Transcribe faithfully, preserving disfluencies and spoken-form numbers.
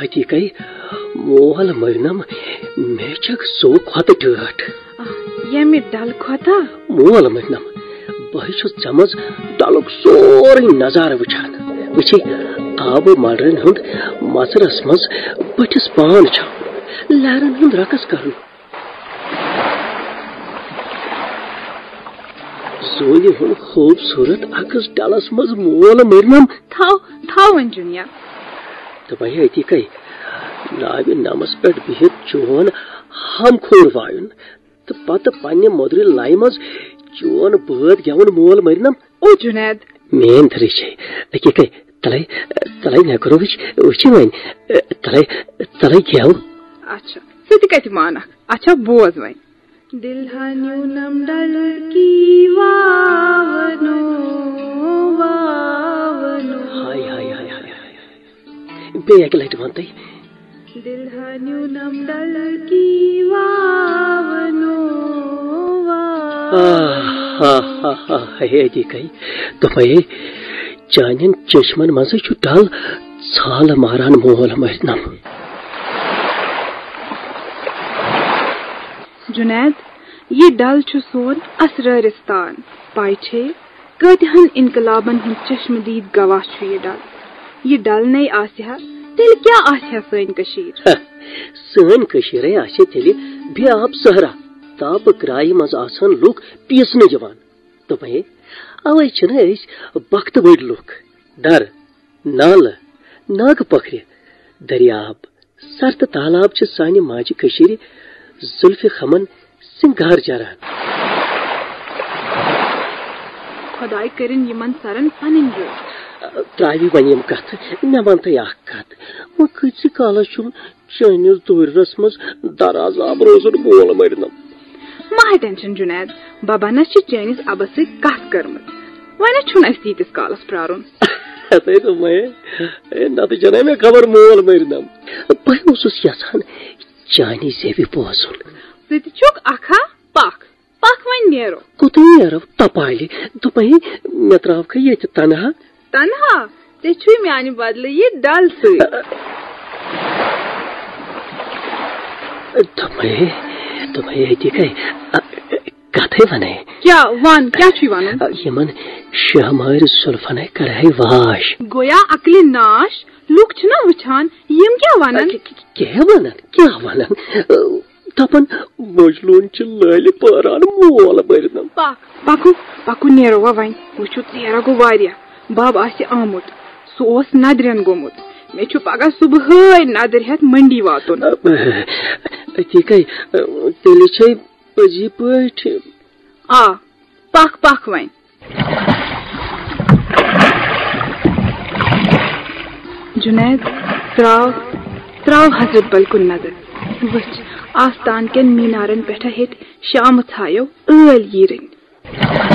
حقیقے، مول مٔرنم، مےٚ چھکھ ژوٚو کھۄتہٕ ٹٲٹھ۔ آہ، ییٚمہِ ڈلہٕ کھۄتہٕ؟ مول مٔرنم، بہٕ ہے چھُس ژےٚ منٛز ڈلُک سورُے نظارٕ وٕچھان۔ وٕچھی، آبہٕ ملرن ہُنٛد مژرس منٛز بٔٹھِس پان چھاوُن، لہرن ہُنٛد رقص کرُن۔ زوٗنہِ ہُنٛد خوٗبصوٗرت عکس ڈلس منٛز مول مٔرنم۔ تھاو، تھاو وۄنۍ جُنیا۔ تہٕ وۄنۍ أتی کَے ناوِ نمس پٮ۪ٹھ بِہِتھ چون ہم کھوٗر وایُن تہٕ پتہٕ پننہِ مۄدرِ لایہِ منٛز چون بٲتھ گٮ۪وُن مول مٔرنم۔ او جُنید۔ میٲنۍ دٔرٕے چھے۔ أکے کَے، تلے، تلے مےٚ کوٚر وٕچھ، وٕچھِ وۄنۍ۔ تلے، تلے گٮ۪و۔ اچھا، ژٕ تہِ کتہِ مانکھ؟ اچھا، بوز وۄنۍ۔ دِلہٕ ہا نیوٗنم ڈلہٕ کی واونو، واونو۔ ہاے، ہاے، ہاے، ہاے، ہاے۔ بیٚیہِ اَکہِ لٹہِ وَن تُہۍ۔ دِلہٕ ہا نیوٗنم ڈلہٕ کی واونو، واونو۔ آہ، آہ، آہ، آہ، ہے، أتی کَے۔ دوٚپمَے، چانٮ۪ن چشمن منٛزٕے چھُ ڈل ژھالہٕ ماران مول مٔرنم۔ جُنید، یہِ ڈل چھُ سون اسرٲرِستان۔ پاے چھے، کۭتِہن انقلابن ہُنٛد چشمہٕ دیٖد گواہ چھُ یہِ ڈل۔ یہِ ڈل نے آسہِ ہا، تیٚلہِ کیٛاہ آسہِ ہا سٲنۍ کٔشیٖر؟ ہہ، سٲنۍ کٔشیٖرے آسہِ ہا تیٚلہِ بے آب صحرا۔ تاپہٕ کرایہِ منٛز آسہٕ ہن لُکھ پیٖسنہٕ یِوان۔ دوٚپمَے، اوے چھِنہٕ أسۍ بختہٕ وٲلۍ لُکھ۔ در، نالہٕ، ناگہٕ پۄکھرِ، دٔریاب، سر تہٕ تالاب چھِ سانہِ ماجہِ کٔشیٖرِ زُلفِ خمن سِنگار چران۔ خۄداے کٔرِن یِمن سرن پنٕنۍ رٲچھ۔ ترٛاوِ وۄنۍ یِم کتھٕ، مےٚ وَن تہٕ اکھ کتھ۔ وۄنۍ کۭتِس کالس چھُم چٲنِس دورِرس منٛز دراز آب روزُن مول مٔرنم؟ مہ ہے ٹینشن جُنید، ببا نہ چھِ چٲنِس ابس سۭتۍ کتھ کٔرمٕژ، وۄنۍ چھُنہٕ اَسہِ تیٖتِس کالس پرارُن۔ ہتے دوٚپمَے، ہے، نتہٕ چھَنہٕ مےٚ خبر مول مٔرنم۔ بہٕ اوسُس یژھان چانی زیوِ بوزُن۔ ژٕ تہِ چھُکھ اکھ ہا؟ پکھ، پکھ وۄنۍ نیرو۔ کوٚت نیرو؟ تپالہِ۔ دوٚپمَے، مےٚ ترٛاوکھٕ ییٚتہِ تنہا۔ تنہا؟ ژےٚ چھُے میانہِ بدلہٕ یہِ ڈل سۭتۍ۔ دوٚپمَے، دوٚپمَے، أتی گٔے، ا، کتھے ونے۔ کیٛاہ وَن؟ کیٛاہ چھُے وَنُن؟ یِمن شاہ مٲرۍ زُلفنے کرہے واش۔ گویا عقلہِ ناش، لُکھ چھِنہ وٕچھان، یِم کیٛاہ وَنن؟ کیٛاہ وَنن؟ کیٛاہ وَنن؟ دپان، مجنون چھِ لٲلہِ پٲران مول بٔرنم۔ پکھ۔ پکو، پکو نیرو وۄنۍ۔ وٕچھِو، ژیر گوٚو واریاہ۔ بب آسہِ آمُت۔ سُہ اوس ندرٮ۪ن گوٚمُت۔ مےٚ چھُ پگاہ صبحٲے ندٕر ہٮ۪تھ منڈی واتُن۔ أتی کَے، تیٚلہِ چھے پٔزی پٲٹھۍ۔ آ، پکھ، پکھ وۄنۍ۔ جُنید، تراو، تراو حضرت بل کُن نظر۔ وٕچھ، آستان کٮ۪ن مینارن پٮ۪ٹھ ہیٚتۍ شامہٕ ژھایو ٲلۍ ییٖرٕنۍ۔